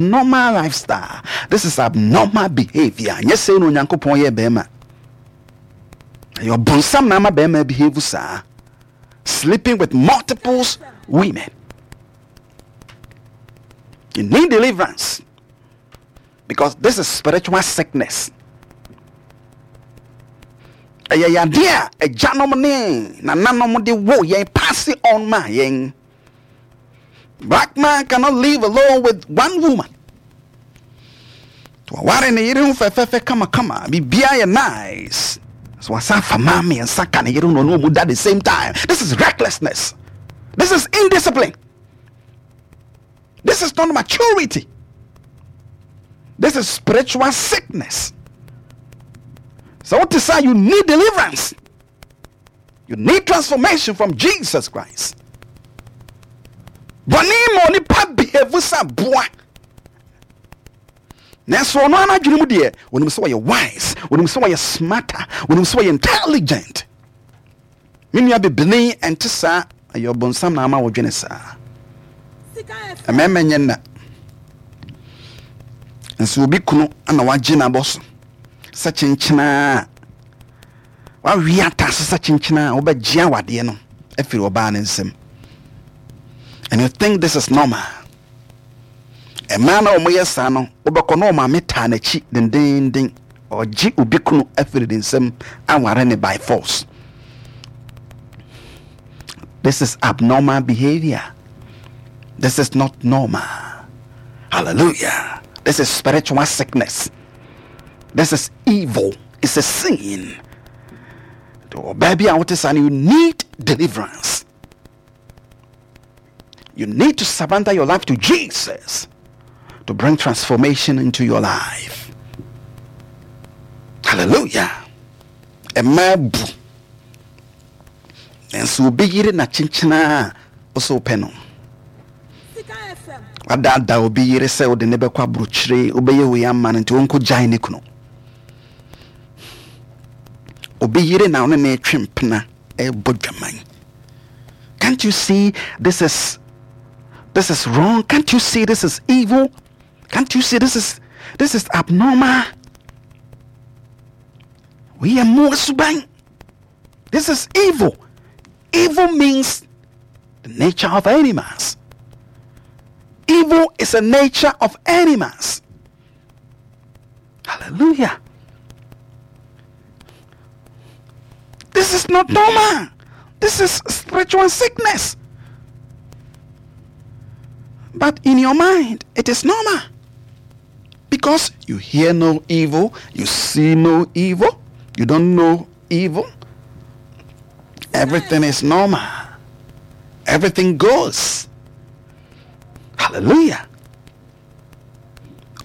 Normal lifestyle. This is abnormal behavior. Nyɛ sɛ na Onyankopɔn yɛ bɛrima. Ɛyɛ ɔbonsam na ama bɛrima behave saa. Sleeping with multiples women. You need deliverance because this is spiritual sickness. Ɛyɛ yadeɛ a agyanom ne nananom de wo yɛn pass on ma yɛn. Black man cannot live alone with one woman. To aware ne yere ho fɛfɛɛfɛ kamakama, biribiara yɛ nice. So wasan afa mmaa mmiɛnsa ka ne yere ho na ɔne wɔn da the same time. This is recklessness. This is indiscipline. This is not maturity. This is spiritual sickness. So what is that? You need deliverance. You need transformation from Jesus Christ. Bɔne ma onipa behave sɛ aboa. Nanso ɔno ara n'adwene mu deɛ, onim sɛ ɔyɛ wise, onim sɛ ɔyɛ smarter, onim sɛ ɔyɛ intelligent. Me nua bibini ɛnte saa, ɛyɛ ɔbonsam na ama wodwene saa. Mmarima nyɛ nna. Nso obi kunu na wagye n'abɔ so sɛ kyenkyenaa. Wawe ataase sɛ kyenkyena a wobɛgye awadeɛ no afiri ɔbaa no nsam. And you think this is normal. Mmaa na wɔyɛ saa no, wobɛkɔ na ɔmaame taa n'akyi dendenden. Ɔgye obi kunu afiri ne nsam aware ne by force. This is abnormal behavior. This is not normal. Hallelujah. This is spiritual sickness. This is evil. It's a sin. Ɔbaa bi a wote saa no, you need deliverance. You need to surrender your life to Jesus to bring transformation into your life. Hallelujah. Mmaa bu. Nanso obi yere na kyenkyena a ɔsɛ wopɛ no. Wadaadaa obi yere sɛ wode ne bɛkɔ aburokyire, wobɛyɛ wei ama no nti wɔnkɔ gyae ne kunu. Obi yere na ɔne ne retwe mpena ɛrebɔ dwaman. Can't you see this is this is wrong? Can't you see this is evil? Can't you see this is this is abnormal? We are more suban. This is evil. Evil means the nature of animals. Evil is a nature of animals. Hallelujah. This is not normal. This is spiritual sickness. But in your mind, it is normal. Because you hear no evil, you see no evil, you don't know evil. Everything is normal. Everything goes. Hallelujah.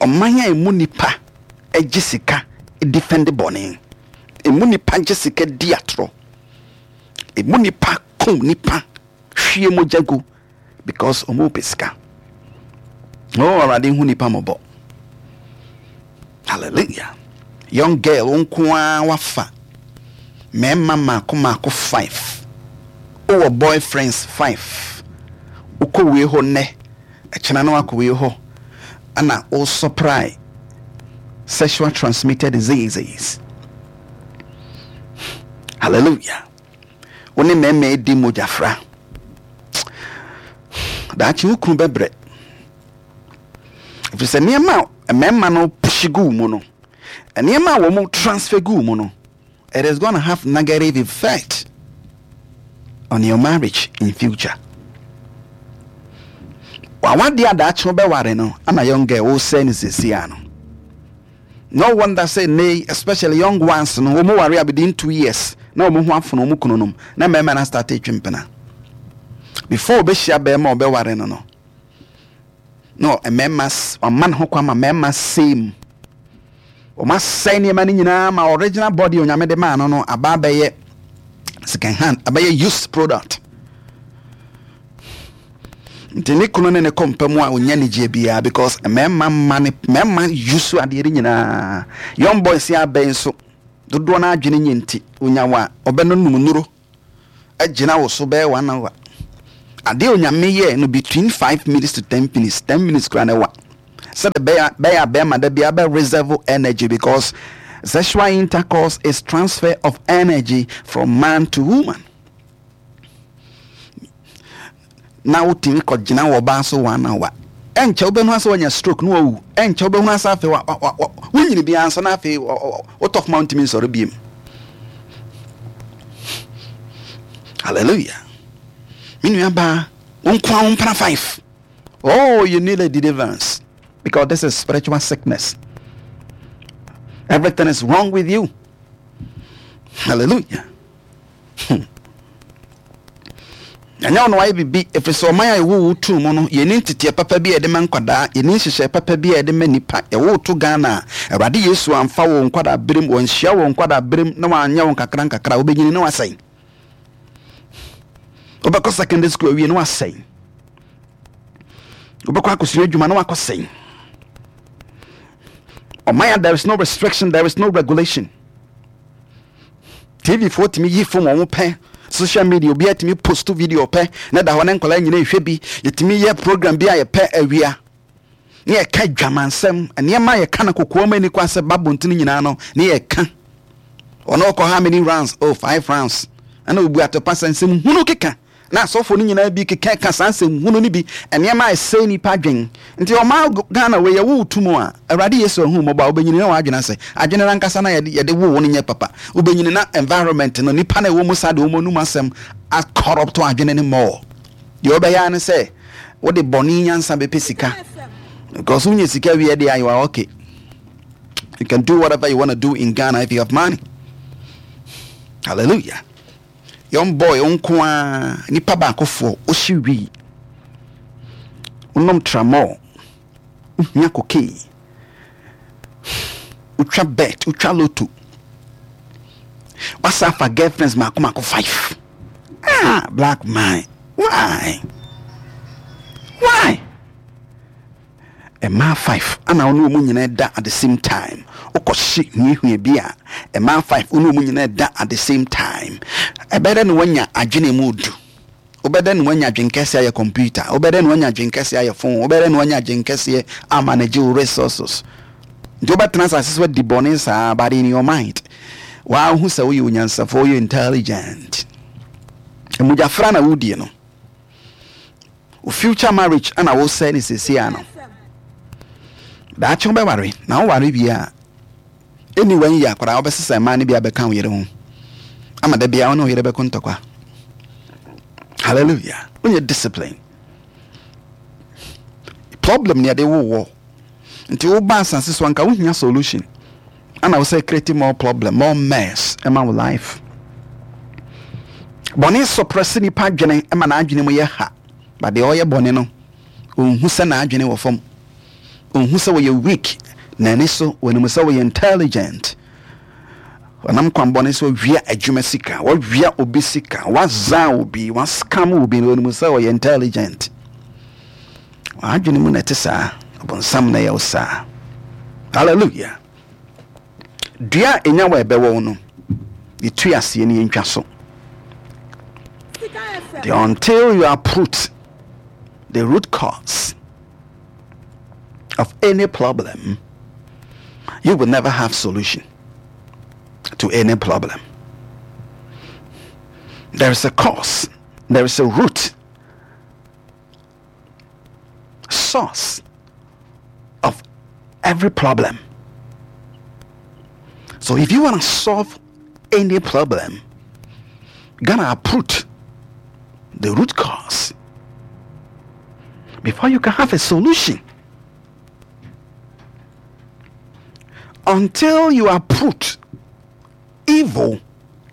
Ɔman a emu nipa gye sika defend bɔne. Emu nipa gye sika di atorɔ. Emu nipa kum nipa hwie mogya gu because wɔn pɛ sika. Oh, Awurade hu nipa mmɔbɔ. Hallelujah. Young girl, wo nko ara wafa mmarima mmaako mmaako five. Wowɔ boyfriends five. Wokɔ wei hɔ nnɛ, ɛkyena na wakɔ wei hɔ. Ɛna wo supply sexual transmitted diseases. Hallelujah. Wo ne mmarima di mogyafra. Daakye wo kunu bɛbrɛ. Ɛfiri sɛ nneɛma a mmarima no push gu mu no, nneɛma a wɔn transfer gu mu no, it is gonna have negative effect on your marriage in future. Wawadeɛ a daakye wobɛware no, ana young girl wosɛe no seesei ano. No wonder sɛ nnɛ yi especially young ones no wɔn ware a within 2 years na wɔn ho afono wɔn kunu nom na mmarima no start etwi mpena. Before ɔbɛhyia bɛrima a ɔbɛware no no, na mmarima ɔma ne ho kwan ma mmarima same wɔn asɛe nneɛma no nyinaa ma original body Onyame de maa no no aba abɛyɛ second hand, abɛyɛ used product. Nti ne kunu ne ne kɔ mpa mu a, onya anigyeɛ biara because mmarima mma ne mmarima use adeɛ no nyinaa. Young boys yi abɛn nso dodoɔ no adwene nyɛ, nti onya wa ɔbɛno num nnuro agyina wo so bɛyɛ one hour. Adeɛ Onyame yɛ no between 5 minutes to 10 minutes, 10 minutes koraa na ɛwa. Sɛdeɛ bɛyɛ bɛyɛ a bɛrima da biara bɛ reserve energy because sexual intercourse is transfer of energy from man to woman. Na wotumi kɔgyina wɔ ɔbaa so one hour. Ɛnkyɛ wobɛhu asɛ wanya stroke na wawu. Ɛnkyɛ wobɛhu asɛ afei wa wa wa wonyini biara nso na afei wotɔ fam a wontumi nsɔre biem. Hallelujah. Me nua baa, wo nko ara wo mpena five. Oh, you need a deliverance because this is spiritual sickness. Everything is wrong with you. Hallelujah. Hmm. Ɛnyɛ ɔno ayɛ biribi ɛfiri sɛ ɔman a yɛwɔ wo too mu no yɛni nteteɛ papa bi a yɛde ma nkwadaa yɛni nhyehyɛe papa bi a yɛde ma nnipa yɛwo to Ghana a Awurade Yesu amfa wo nkwadaa berem wɔnhyia wo nkwadaa berem na wanyɛ wo nkakra nkakra wobɛnyini na wasɛe wobɛkɔ secondary school awie na wasɛe wobɛkɔ akɔsua adwuma na wakɔsɛe ɔman a there is no restriction there is no regulation tv foɔ tumi yi fom wɔn pɛ social media obiara tumi post video pɛ na da hɔ ne nkwadaa nyina ehwɛ bi yɛtumi yɛ program bi a yɛpɛ awia ne yɛka dwamansɛm nneɛma a yɛka no kokoa mu ani kwan sɛ ba bonten nyinaa no ne yɛka ɔno ɔkɔ how many rounds oh five rounds ɛna obu atɔpa sɛ nsɛm hunu keka na asɔfo no nyinaa bi keka ka saa nsɛm hunu no bi nneɛma a ɛsɛe nipa adwen nti ɔma Ghana wei yɛwo tu mu a Awurade Yesu ahu mmɔbɔ a wobɛnyini na w'adwene asɛ adwene no ankasa na yɛde yɛde wo wo no nyɛ papa wobɛnyini na environment no nipa na ɛwɔ mu saa de wɔn anum asɛm akɔrɔpto adwene no mɔɔ Deɛ wobɛyɛ ara ne sɛ wode bɔne nyansa bɛpɛ sika because wonya sika wie deɛ you are okay. You can do whatever you want to do in Ghana if you have money. Hallelujah. Young boy wo nko ara nipa baakofoɔ wohye wii wonom tramol wohia cocaine wotwa bet wotwa loto wasa afa girlfriends mako mako five Ah, black man, why? Why? Mmaa five ana wo ne wɔn nyinaa da at the same time. Wokɔhye huahua bi a, mmaa five wo ne wɔn nyinaa da at the same time. Ɛbɛyɛ dɛ na woanya adwene mu du. Wobɛyɛ dɛ na woanya adwene kɛseɛ ayɛ computer. Wobɛyɛ dɛ na woanya adwene kɛseɛ ayɛ phone. Wobɛyɛ dɛ na woanya adwene kɛseɛ amanage wo resources. Nti wobɛtena asase so adi bɔne saa but in your mind woahu sɛ woyɛ onyansafo woyɛ intelligent. Mogyafra na wodie no. Wo future marriage ana wosɛe ne seesei ano. Daakye wobɛware na woware wie a ɛni wɔn yi akwadaa wobɛsesa mmaa no bi abɛka wo yere ho ama da biara wo ne wo yere bɛko ntɔkwa. Hallelujah. Wonyɛ discipline. Problem ne yɛde wo wɔ Nti wo ba asase so anka wo hia solution ana wo sɛ create more problem more mess ɛma wo life. Bɔne suppress nipa adwene ɛma n'adwene mu yɛ ha but deɛ ɔyɛ bɔne no ɔnhu sɛ n'adwene wɔ fam ɔnhu sɛ wɔyɛ weak n'ani so wɔnim sɛ wɔyɛ intelligent wɔnam kwan bɔne so wia adwuma sika wɔwia obi sika waza obi wascam obi na wɔnim sɛ ɔyɛ intelligent. W'adwene mu na ɛte saa. Ɔbonsam na ɛyɛ wo saa. Hallelujah. Dua a enya wɔ ɛbɛwɔ wo no, yɛtu aseɛ ne yɛntwa so. The until you uproot the root cause of any problem, you will never have solution to any problem. There is a cause, there is a root source of every problem. So if you want to solve any problem, you're gonna uproot the root cause before you can have a solution. Until you uproot evil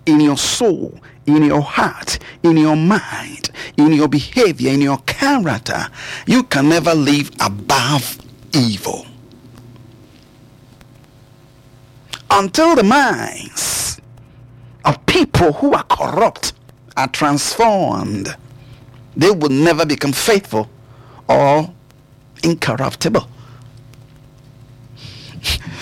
in your soul, in your heart, in your mind, in your behavior, in your character, you can never live above evil. Until the minds of people who are corrupt are transformed, they will never become faithful or incorruptible.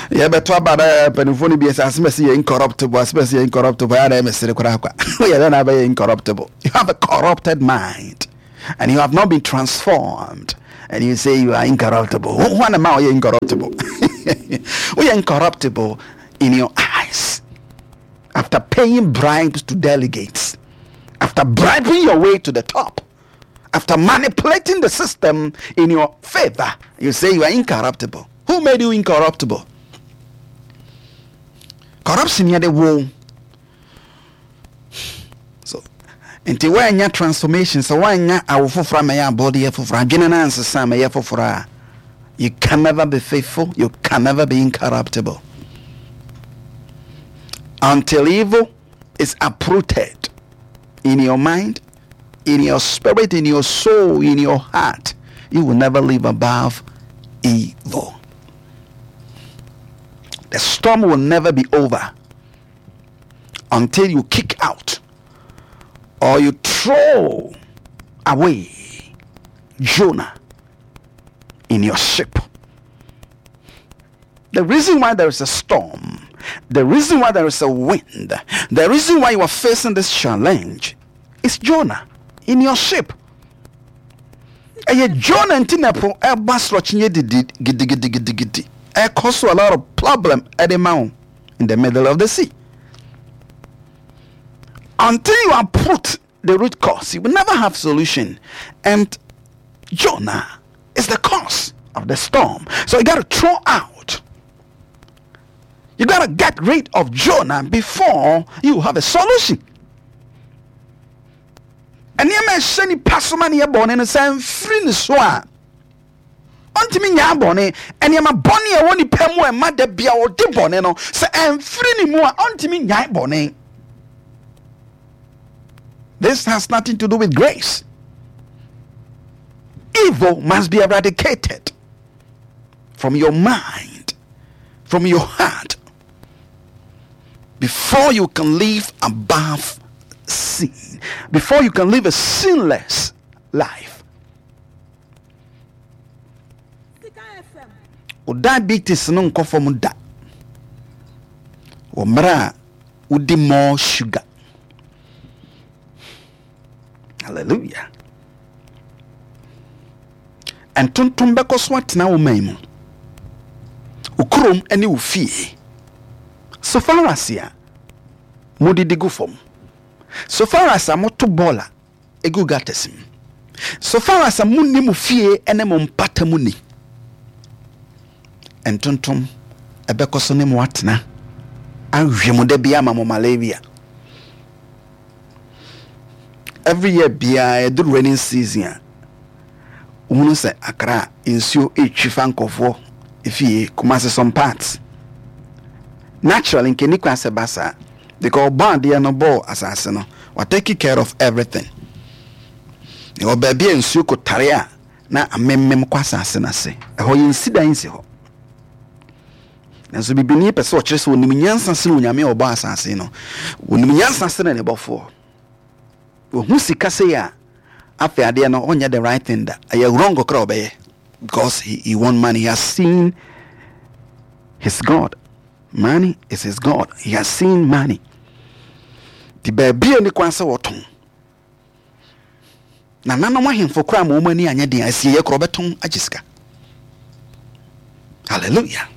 Yɛbɛto aba na mpanimfoɔ no bi sɛ asɛm ɛsɛ yɛ incorruptible, asɛm ɛsɛ yɛ incorruptible, ɛyɛ na ɛmɛsere koraa kwa. Woyɛ dɛ na abɛyɛ incorruptible. You have a corrupted mind and you have not been transformed. And you say you are incorruptible. Who am I incorruptible? We are incorruptible in your eyes. After paying bribes to delegates, after bribing your way to the top, after manipulating the system in your favor, you say you are incorruptible. Who made you incorruptible? Corruption yɛ de wo. So nti woanya transformation sɛ woanya awo foforɔ amɛyɛ abɔdeɛ foforɔ adwene no ansesa amɛyɛ foforɔ a you can never be faithful, you can never be incorruptible until evil is uprooted in your mind, in your spirit, in your soul, in your heart. You will never live above evil. The storm will never be over until you kick out or you throw away Jonah in your ship. The reason why there is a storm, the reason why there is a wind, the reason why you are facing this challenge is Jonah in your ship. Ɛyɛ Jonah nti na ɛpo ɛba sorɔkye didi gidigidigidigidi. Ɛkɔ so a lot of problem ɛde ma wo in the middle of the sea. Until you uproot the root cause, you will never have solution. And Jonah is the cause of the storm. So you got to throw out. You got to get rid of Jonah before you have a solution. Nneɛma ɛhyɛ nipa so ma ne yɛ bɔne no sɛ mfiri ne so a ɔntumi nyaa bɔne. Nneɛma bɔne a ɛwɔ nipa mu a ɛma da bia ɔde bɔne no sɛ ɛmfiri ne mu a ɔntumi nyae bɔne. This has nothing to do with grace. Evil must be eradicated from your mind, from your heart, before you can live above sin, before you can live a sinless life. Wo diabetes no nkɔ fam da wɔ mmerɛ a wodi more sugar. Hallelujah. Ntontom bɛkɔ so atena wo man mu, wo kurom ne wo fie. So far as a modidi gu fam, so far as a moto bɔɔla egu gutters mu, so far as a munni mo fie ne mo mpata mu ni, ntontom ɛbɛkɔ so ne mo atena awe mo da bi ama mo malaria. Every year biara ɛduru raining season a, wohunu sɛ Accra nsuo retwi fa nkurɔfoɔ efie, Kumasi some parts. Naturally nka ɛni kwan sɛ ɛba saa because ɔbɔ adeɛ no bɔɔ asase no, wa take care of everything. Ɛwɔ baabi a nsuo kɔtare a na amemmem kɔ asase no ase. Ɛhɔ yɛnsi dan nsi hɔ. Nanso bibini pɛ sɛ ɔkyerɛ sɛ ɔnim nyansa sene Onyame a ɔbɔ asase no. Ɔnim nyansa sene ne bɔfoɔ. Ɔhu sika sei a, afei adeɛ no ɔnyɛ the right thing da. Ɛyɛ wrong koraa ɔbɛyɛ because he want money. He has seen his God. Money is his God. He has seen money. Nti baabi a ni kwan sɛ wɔtɔn. Nananom ahemfo koraa ma wɔn ani anyɛ den a, asieeɛ koraa wɔbɛtɔn agye sika. Hallelujah.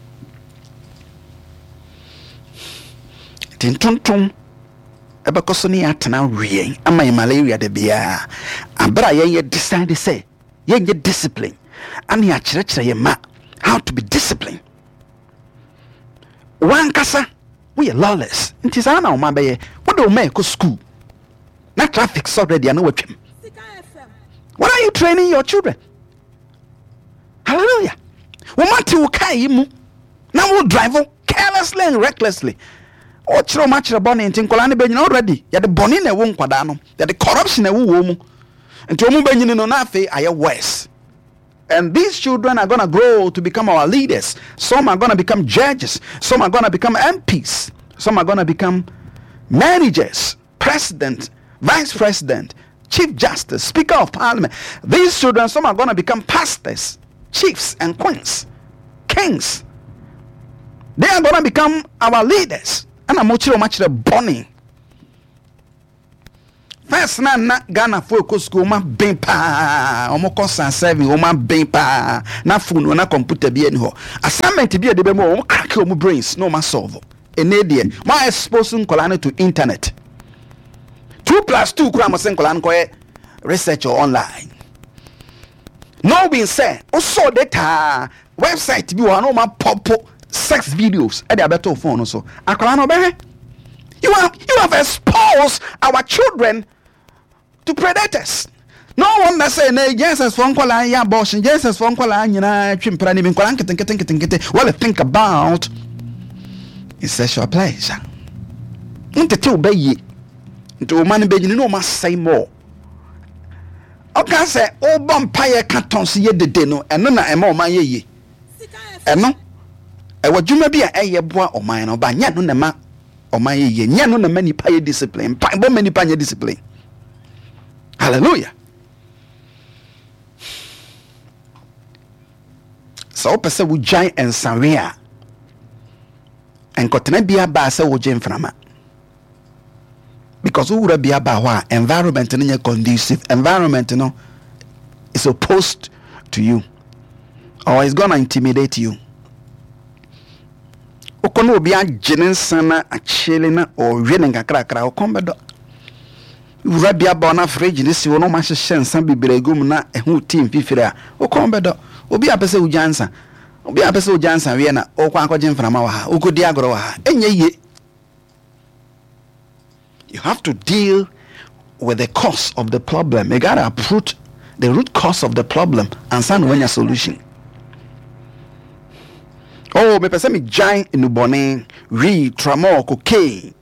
Nti ntontom ɛbɛkɔ so ne yɛn atena weɛn ama yɛn malaria da biara. Abere a yɛn yɛ decide sɛ yɛnyɛ discipline ane akyerɛkyerɛ yɛn ma how to be disciplined. Wankasa woyɛ lawless nti saa na wɔn abɛyɛ wode wɔn ma ɛkɔ school. Na traffic sɔ ready a na watwam. What are you training your children? Hallelujah. Wɔn ate wo kaa yi mu na wo drive carelessly and recklessly. Wɔkyerɛ wɔn akyerɛ bɔne nti nkwadaa no bɛnyina already. Yɛde bɔne na ɛwɔ nkwadaa no. Yɛde corruption na ɛwɔ wɔn mu. Nti wɔn bɛnyini no na afei ayɛ worse. And these children are gonna grow to become our leaders. Some are gonna become judges. Some are gonna become MPs. Some are gonna become managers, president, vice president, chief justice, speaker of parliament. These children, some are gonna become pastors, chiefs and queens, kings. They are gonna become our leaders. And I'm much bɔne. First na na Ghanafoɔ ɛkɔ sukuu, wɔn aben paa, wɔn kɔ san seven, wɔn aben paa, na phone na computer bi ɛni hɔ. Assignment bi a ɛde bɛ mu, wɔn crack wɔn brains na wɔn asolve. Ɛnɛ deɛ, mo expose nkɔla no to internet. 2 plus 2 kura mo se nkɔla no kɔyɛ research online. Knowing sɛ wosɔ data, website bi wɔ hɔ na wɔn apɔpo sex videos ɛde abɛto phone no so, akwadaa no ɔbɛhwɛ. You have exposed our children to predators. No wonder sɛ na JSS foɔ nkɔlaa yɛ abortion, JSS foɔ nkɔlaa nyinaa twe mpira ne bi, nkɔlaa nketenkete nketenkete. What they think about is sexual pleasure. Ntete wo bɛyie nti wo ma no bɛnyini na ɔma asɛe more. Ɔka sɛ wobɔ mpaeɛ ka tɔn so yɛ dede no, ɛno na ɛma ɔman yɛ yie. Ɛno ɛwɔ dwuma bi a ɛyɛ boa ɔman no ba, nyɛ no na ɛma ɔman yɛ yie, nyɛ no na ɛma nipa yɛ discipline. Mpaebɔ ma nipa nyɛ discipline. Hallelujah. Sɛ wopɛ sɛ wogyae nsawe a, nkɔtena bi aba sɛ wogye mframa, because wowura bi aba hɔ a, environment no nyɛ conducive. Environment no is opposed to you or is gonna intimidate you. Wokɔ na obi agye ne nsa na akyele na ɔwe ne nkakrakra, wokɔn bɛdɔ. Wura bi aba na fridge ne si hɔ na ɔma ahyehyɛ nsa bebree gu mu na ɛho ti mfifiri a, wokɔn bɛdɔ. Obi a pɛ sɛ wogya nsa, obi a pɛ sɛ wogya nsa wie na wokɔ akɔgye mframa wɔ ha, wokɔdi agorɔ wɔ ha, ɛnyɛ yie. You have to deal with the cause of the problem. You gotta uproot the root cause of the problem ansa na wanya solution. Oh, mepɛ sɛ megyae nnubɔne, wii, tramol, cocaine.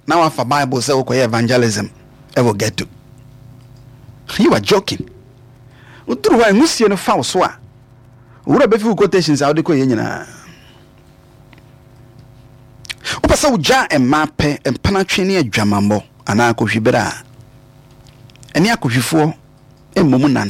Na wafa Bible sɛ wokɔyɛ evangelism ɛwɔ ghetto. You are joking. Woduru hɔ a, nwusie no fa wo so a, owura bɛfi wo quotations a wode kɔyɛ nyinaa. Wopɛ sɛ wogyaa mmaa pɛ, mpenatwe ne adwamammɔ anaa akɔhwibere a, ɛne akɔhwifoɔ mmom nante.